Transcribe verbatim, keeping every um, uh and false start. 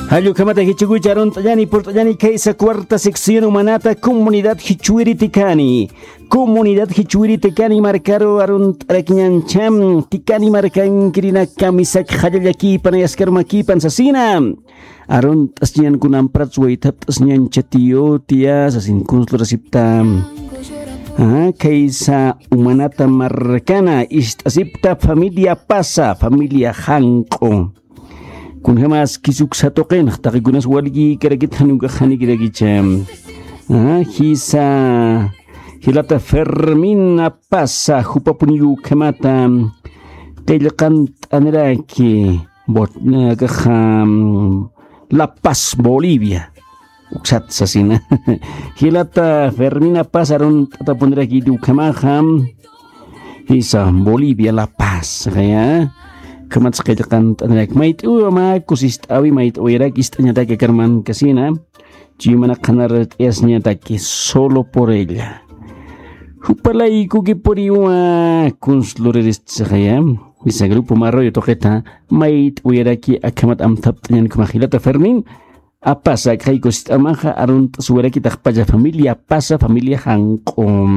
Jallukhamata jichukucha arunt'añani purt'añani khaysa cuarta sección umanata comunidad jichwiri tikani. Comunidad jichwiri tikani markaru arunt'arakiñancham tikani markankirina kamisak jallallakipan ayaskarmakipan sasina. Arunt'asñan kunampratsu waythapt'asñan chatiyotia sasin kunslurasipta. Khaysa umanata markana ist'asipta familia pasa familia janq'u. Kunjamas kisuksa tuqinx taqikunas walkïkarakit janukax janikirakicha. Jisa jilata fermina pasa jupapuniw ukhamata qillqant'aniraki. Akaxa la paz bolivia. Uksat sasina jilata fermina paz arunt'atapuniraki ukhamaxa. Jisa bolivia la paz jaya. Ukhamatsa qillqant'anirak mayt'uwa mä kusist'awi mayt'uwirak ist'añataki akarmankasina. Chuymanaqanar t'iyasñataki solo por ella. Jupalaykukipuriwa kunsluriristsixaya. Jisa grupo marroyo tuqita mayt'uwiraki akhamat amthapt'añan ukhamax jilata fermin. Apasa akxay kusist'amaxa arunt'asuwirakitaxpalla familia pasa familia janq'u.